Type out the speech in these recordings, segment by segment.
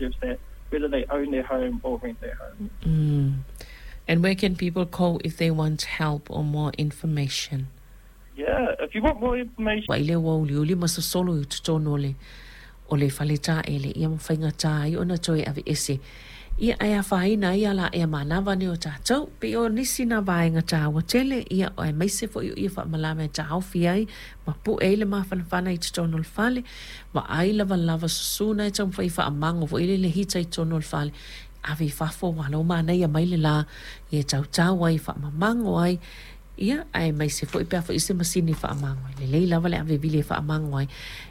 deserves that, whether they own their home or rent their home. Mm. And where can people call if they want help or more information? Yeah, if you want more information. Vaai lea ua uliuli ma sosolo i totonu o le o le fale taele ia ma faigata ai ona toe aveese. Ia ae afaina ai ala ea manava nei o tatou. Pei o nisi na vaega taua tele ia aemaise foi o ia faamalama e taofi ai ma pue ai le mafanafana i totonu o le fale. Vaai lavalava susu na e taumafai e faamago foi lele hita i totonu o le fale. Ave i fafo aua o la ua manaia mai le la ia e tautau ai faamamago ai Ia, aemaise foi pe a foi se masini e faamago ai. Lelei lava le ave vili e faamago ai,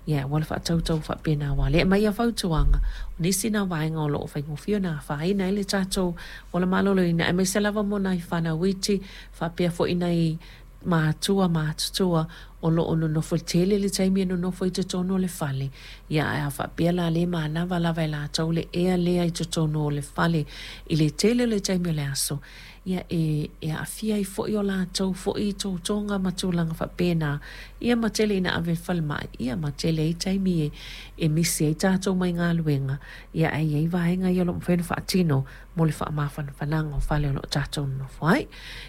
ia e aua le faatautau faapena aua o lea e aumai a fautuaga, o nisi na vaega o lo o faigofie ona afaina ai le tatou ola maloloina, aemaise lava mo nai fanau iti faapea foi nai matua matutua o lo o nonofo tele le taimi e nonofo i totonu o le fale. Ia, ae a faapea la le manava lava e latou le ea lea i totonu o le fale i le tele o le taimi o le aso, ia e e aafia ai foi o latou foi totoga ma tulaga faapena, ia ma tele ina ave i le falemai, ia ma tele ai taimi e e misi ai tatou mai galuega, ia ae i ai vaega ia o lo o mafai ona faatino mo le faamafanafanaga o fale o lo o tatou nonofo ai.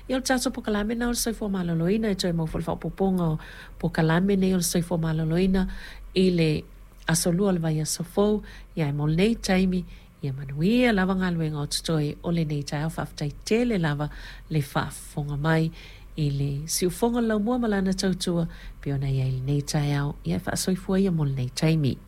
Ia o le tatou polokalame lena o le Soifua Maloloina e toe maua foi le faaopoopoga o polokalame nei o le Soifua Maloloina i le Aso Lua o le vaiaso fou, ia ae mo lenei taimi, Ia manuia lava galuega o totoe o lenei taeao. Faafetai tele lava le faafofoga mai i le siufofoga o le laumua ma lana tautua pei ona i ai lenei taeao. Ia e faasoifua ia mo lenei taimi.